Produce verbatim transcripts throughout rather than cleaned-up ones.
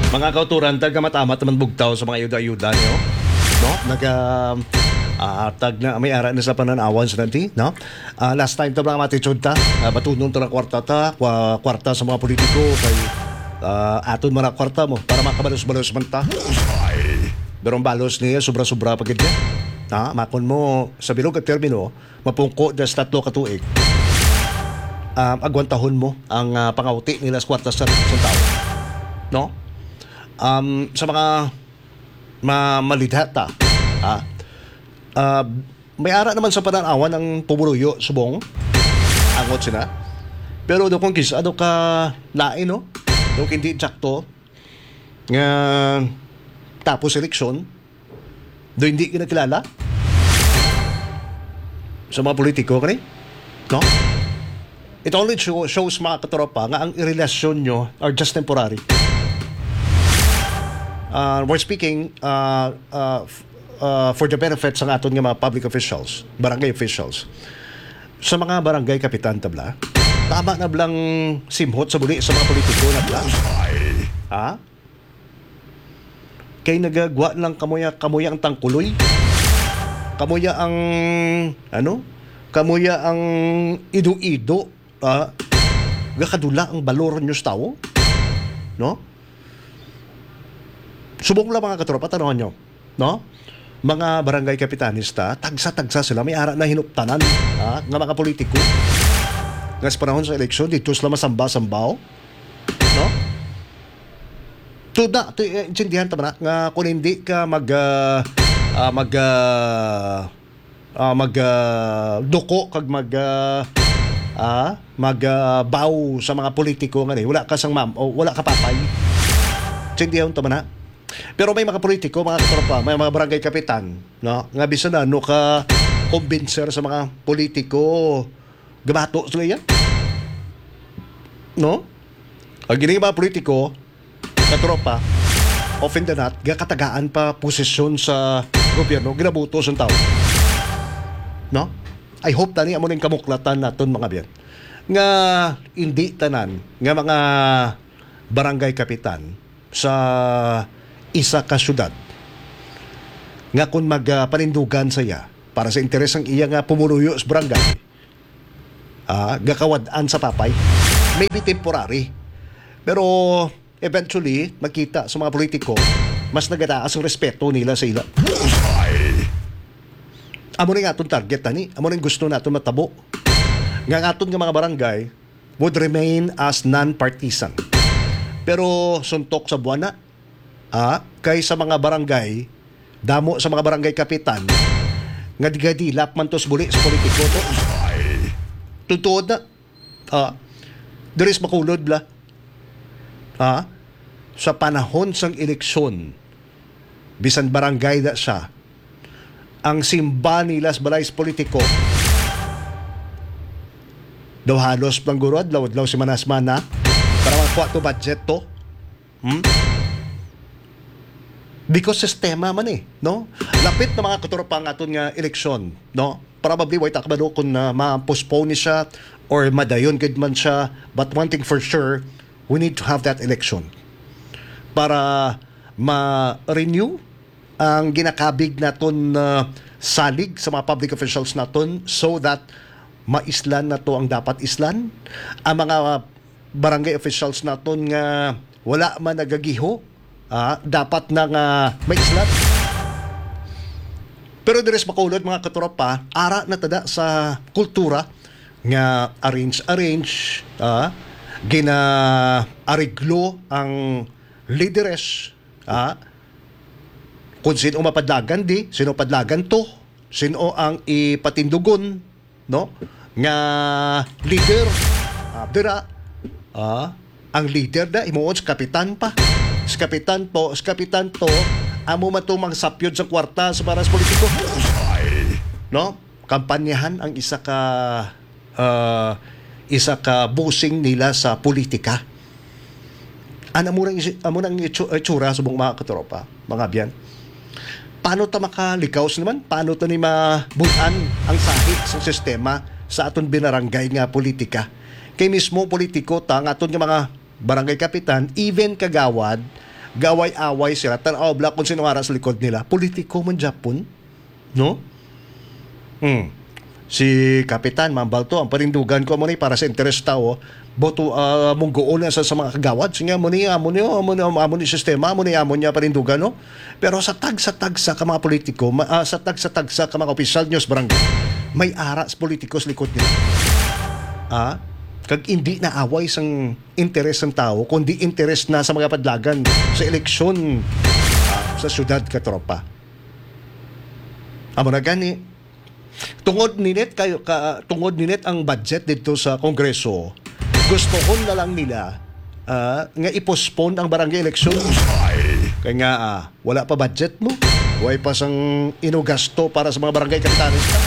Mga kauturan, tag-amat-amat naman bugtaw sa mga ayuda-ayuda niyo. No? Nag, ah, ah, tag na, may ara na sa pananawan sa nanti, no? Ah, last time to, mga matitsud ta, ah, batunon to ng kwarta ta, kwa-, kwarta sa mga politiko, kay, ah, aton mga kwarta mo, para makabalos-balos man ta. Pero ang balos niya, sobra-sobra pa gid niya. Ha? Makon mo, sa bilog at termino, mapungko das tatlo ka tuig. Um, agwantahon mo ang, ah, pangawti nila sa kwarta sa, sa tao. No? Um, sa mga ma-, malidha ta, ha? Ah, may ara naman sa pananawan ang pumuluyo subong angot sila. Pero do kung kis-, ano ka lain, no? Do hindi sakto nga tapos eleksyon, do hindi kinakilala sa mga politiko, kani? No? It only show-, shows, mga katropa, nga ang relasyon nyo are just temporary. Uh, we're speaking, uh, uh, f-, uh, for the benefit sa aton nga mga public officials, barangay officials. Sa mga barangay kapitan, tabla, tama na blang simhot sa buli sa mga politiko na bla? Ha? Kay nagagwa lang kamuya, kamuya ang tangkuloy. Kamuya ang, ano? Kamuya ang ido-ido, ah, gakadula ang balor nyo sa tao. No? Subong lang, mga katropa, tanawon nyo. No? Mga barangay kapitanista, tagsa-tagsa sila, may ara na hinuptanan, ah, nga mga politiko. Nga sa panahon sa eleksyon, dito sila masamba-sambaw. No? Tuda, tu-, eh, intindihan ta ba na nga kung hindi ka mag, ah, ah, mag, ah, ah, mag, ah, duko kag mag, ah, ah, mag, ah, bow sa mga politiko nga ni, wala ka sang ma'am o wala ka papay. Intindihan ta ba na? Pero may mga politiko, mga katropa, may mga barangay kapitan, no, nga bisan na ano ka kumbinser sa mga politiko, gabato sila yan. No? Ang gini mga politiko, katropa, often than not, gakatagaan pa posisyon sa gobyerno, ginabuto sa tao. No? I hope tani amo ning kamuklatan naton, mga biyan. Nga hindi tanan nga mga barangay kapitan sa isa ka syudad nga kung mag, ah, panindugan sa iya para sa interes ang iya nga pumuluyo sa barangay, ah, gakawad-an sa papay. Maybe temporary. Pero eventually, makita sa mga politiko, mas nagataas ang respeto nila sa ila. Amo na nga atong target, ani. Amo na ang gusto naton matabo. Nga ang aton nga mga barangay would remain as non-partisan. Pero suntok sa buwana, ah, kay sa mga barangay, damo sa mga barangay kapitan, nga digadilap man to sa buli sa politiko to. Totoo na. Ah, diri sa Bacolod, bla. Ah, sa panahon sang eleksyon, bisan barangay na siya, ang simba nila sa balay sa politiko, daw halos lang guro adlaw-adlaw, semana-semana, para makakuha to budget to. Hmm? Because sistema man eh, no? Lapit na, mga katropa, ang aton nga eleksyon, no? Probably, way ta kabalo kung, ah, ma-postpone ni siya or madayon gid man siya. But one thing for sure, we need to have that election para ma-renew ang ginakabig naton, ah, salig sa mga public officials naton, so that maislan nato ang dapat islan. Ang mga barangay officials naton nga wala man nagagiho, ah, dapat na nga maislan. Pero diri sa Bacolod, mga katropa, ara na tada sa kultura nga arrange-arrange, ah, gina-ariglo ang lideres, ah, kung sino mapadlagan di, sino padlagan to, sino ang ipatindugon, no? Nga leader, ah, dira, ah, ang leader na, himuon sa kapitan pa. Sa kapitan po, sa kapitan to, amo man to mangsapyod sa kwarta sa para sa politiko. No? Kampanyahan ang isa ka, ah, isa ka busing nila sa politika. Ano mo nang isi-, amo nang itsu-, itsura subong, mga katropa, mga abyan? Paano ta makalikaw sa naman? Paano ta ni mabulan ang sahig sa sistema sa aton binaranggay nga politika? Kay mismo politiko ta, ang aton nga mga barangay kapitan, even kagawad, Gaway-away sila. Tan-aw bala kung sino ara sa likod nila. Politiko man gyapon, no? Hmm. Si Kapitan Ma'am Balto, ang panindugan ko amo ni para sa interes tawo. Boto, ah, munggoon na sa, sa mga kagawad. Sige, amo ni, amo ni, amo ni, amo ni sistema, amo ni, amo niya panindugan, no? Pero sa tagsa-tagsa ka mga politiko, ma-, ah, sa tagsa-tagsa ka mga opisyal, news barangay, may ara sa politiko sa likod nila. Ah? Kag hindi na away sang interes sang tawo, kundi interes na sa mga padlagan sa eleksyon, ah, sa syudad, katropa. Amo na gani, tungod ninit kayo ka, tungod ninit ang budget dito sa Kongreso, gustohon na lang nila, ah, nga i-postpone ang barangay election. Kay nga, ah, wala pa budget mo, way pa sang inugasto para sa mga barangay kapitanes ta.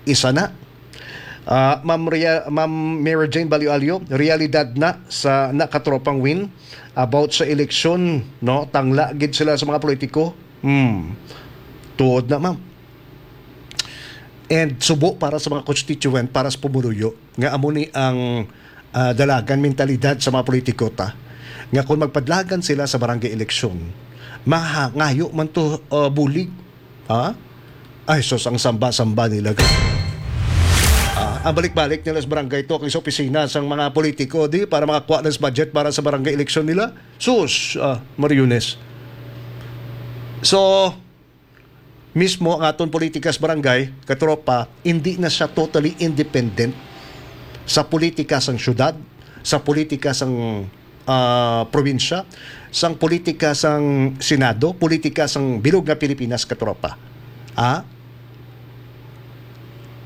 Isa na. Ah, Ma'am Ria-, Ma'am Mary Jane Balyo-Alyo, realidad na sa nakatropang win about sa eleksyon, no? Tangla gid sila sa mga politiko. Hmm. Tuod na, ma'am. And subo para sa mga constituent, para sa pumuluyo, nga amo ni ang, ah, dalagan mentalidad sa mga politiko ta, nga kung magpadlagan sila sa barangay eleksyon, maha-, ngayo man to, ah, bulig. Ha? Ay, sus, ang samba-samba nila, grabe. Ah, ang balik-balik nila sa barangay to, kay sa opisina sang mga politiko, di, para makakuha ng budget para sa barangay election nila. Sus, ah, Mariones. So, mismo ang aton politika sa barangay, katropa, hindi na siya totally independent sa politika sang syudad, sa politika sang, ah, probinsya, sang politika sang Senado, politika sang bilog nga Pilipinas, katropa. Ah?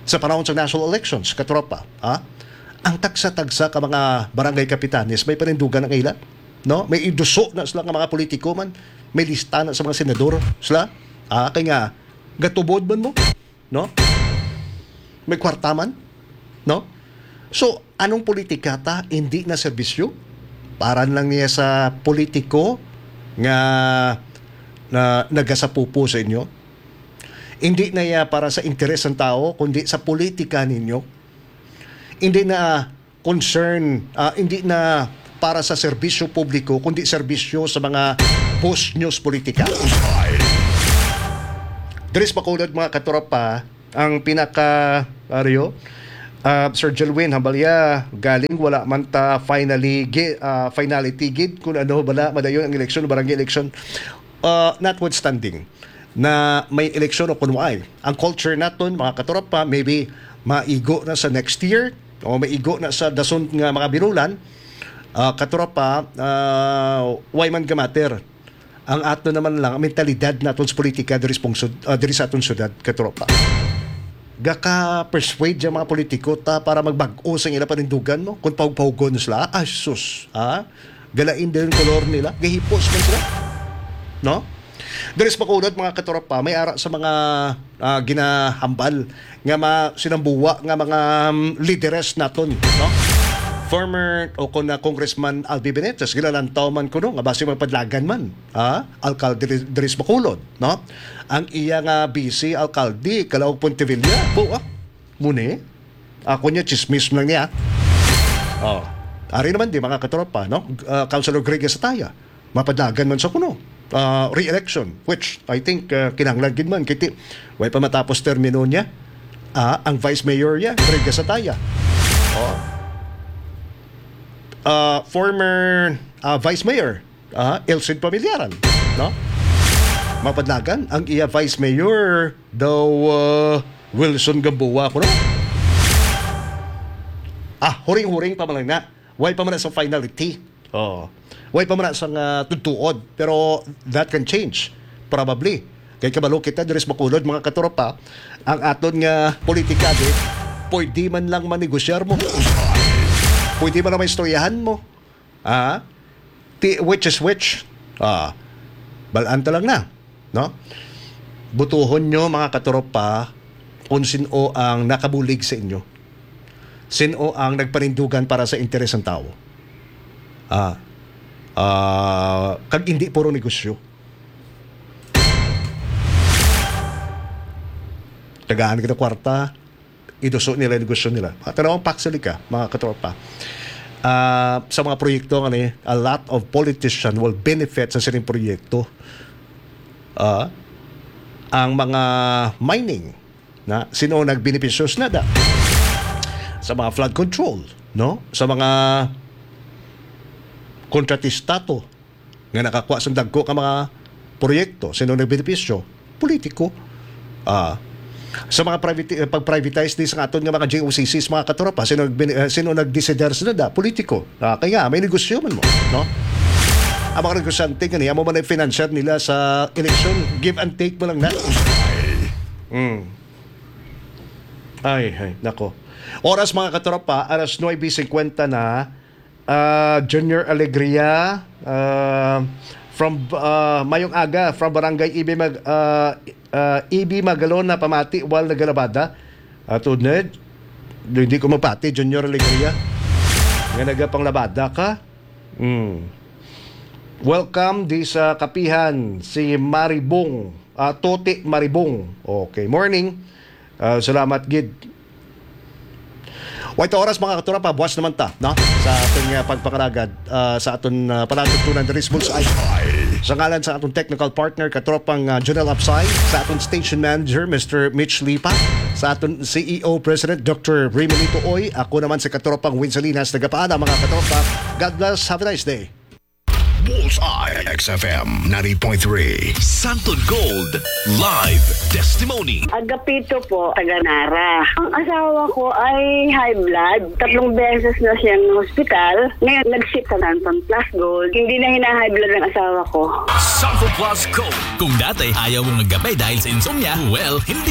Sa panahon sa national elections, katropa, ah? Ang tagsa-tagsa ka mga barangay kapitanes, may panindugan ang ila, no? May iduso na sila nga mga politiko man, may lista na sa mga senador sila. Ah, kay nga, gatubod man mo, no? May kwarta man, no? So, anong politika ta? Hindi na serbisyo? Para lang niya sa politiko nga na, nagasapupo sa inyo? Hindi na iya para sa interes ng tao, kundi sa politika ninyo? Hindi na concern, ah, hindi na para sa serbisyo publiko, kundi serbisyo sa mga boss news politika. Diri sa Bacolod, mga katropa, ang pinaka, Mario, ah, Sir Jelwin, hambal ya, galing wala man ta finally gi-, ah, finality gid kung ano bala madayon ang eleksyon, barangay election. Ah, notwithstanding na may eleksyon o kung waay, ang culture naton, mga katropa, maybe maigo na sa next year o maigo na sa dason nga mga binulan, ah, katropa, ah, why man gamatter? Ang ato naman lang, ang mentalidad naton sa politika diri sa pungsod, ah, diri sa aton syudad, katropa. Gaka-persuade ang mga politiko ta para magbag-o sa ila panindugan mo. Kung pahug-pahugon sila, ah, sus, ah, galain din yung kolor nila, gahipos man sila. No? Diri sa Bacolod, mga katropa, may ara sa mga, ah, ginahambal nga ma-, sinambuwa nga mga, um, lideres naton, no? Former o kon na Congressman Albi Benitez, ginalantaw man kuno nga basi magpadlagan man, ha? Alkalde diri, diri sa Bacolod, no? Ang iya nga vice alkalde, Calauog Pontevilla, po, ah, muni. Ako niya, chismis lang niya. Oh. Ari naman di, mga katropa, no? Ah, Councilor Greg Sataya, mapadlagan man sa kuno, ah, re-election, which I think, ah, kinahanglan gid man, kay ti-, way pa matapos termino niya. Ah, ang vice mayor niya, Greg Sataya. Oh. Ah, former, ah, vice mayor, ah, Elcid Pamillaran, no? Mapadlagan ang iya vice mayor daw, ah, Wilson Gamboa, kuno. Ah, huring-huring pa man lang na. Way pa man na sa finality. Oh. Way pa man na sa nga tutuod. Pero that can change. Probably. Kay kabalo kita diri sa Bacolod, mga katropa, ang aton nga politika, di, pwede man lang manegosyar mo. Pwede man lang maistoryahan mo. Ah? Ti-, which is which? Ah, balaan ta lang na, no? Butuhon nyo, mga katropa, kung sino ang nakabulig sa inyo. Sino ang nagpanindugan para sa interes ng tao. Ah, ah, kag hindi puro negosyo. Tagaan kita kwarta, iduso nila yung negosyo nila. Mga tanawang paksali ka, mga katropa. ah, sa mga proyekto nga ni, a lot of politician will benefit sa sining proyekto. Ah, ang mga mining, na sino nagbenepisyo na da sa mga flood control, no? Sa mga kontratista to nga nakakuha sa dagko ka mga proyekto, sino nagbenepisyo? Politiko. Ah, sa mga private, eh, pag-privatize di sa aton nga mga J O C Cs, mga katropa, sino nagbin-, eh, sino nagdesider sila da? Politiko. Ah, kaya nga, may negosyo man mo, no? Ang mga negosyante nga niya mo man ang financier nila sa eleksyon, give and take mo lang na. Mm. Ay, ay, nako. Oras, mga katropa, alas nuebe cincuenta na. Ah, Junior Alegria, ah, from, ah, Mayong Aga, from Barangay Ibi Mag-, ah, ah, Ibi Magalona, pamati, wal nagalabada. Ato na, hindi ko mapati, Junior Alegria. Nga nagapanglabada ka? Mm. Welcome di sa kapihan, si Maribong, ah, Toti Maribong. Okay, morning. Ah, salamat gid. Wait, oras, mga katropa, buwas naman ta, no? Sa ating, ah, pagpangaragad, ah, sa aton, ah, panatugtunan diri sa Bullseye. Sa ngalan sa aton technical partner, katropang, ah, Jonel Apsay, sa aton station manager, Mister Mitch Lipa, sa aton C E O President, Doctor Raymond Ito Oy, ako naman si katropang Win Salinas, nagapaalam, mga katropa. God bless, have a nice day. Bullseye, X F M ninety point three. Santon Gold Live Testimony. Agapito po, taga Nara. Ang asawa ko ay high blood. Tatlong beses na siyang hospital. Ngayon, nag-ship sa Santon Plus Gold. Hindi na hina-high blood ang asawa ko. Santon Plus Gold. Kung dati ayaw mong magkape dahil sa insomnia, well, hindi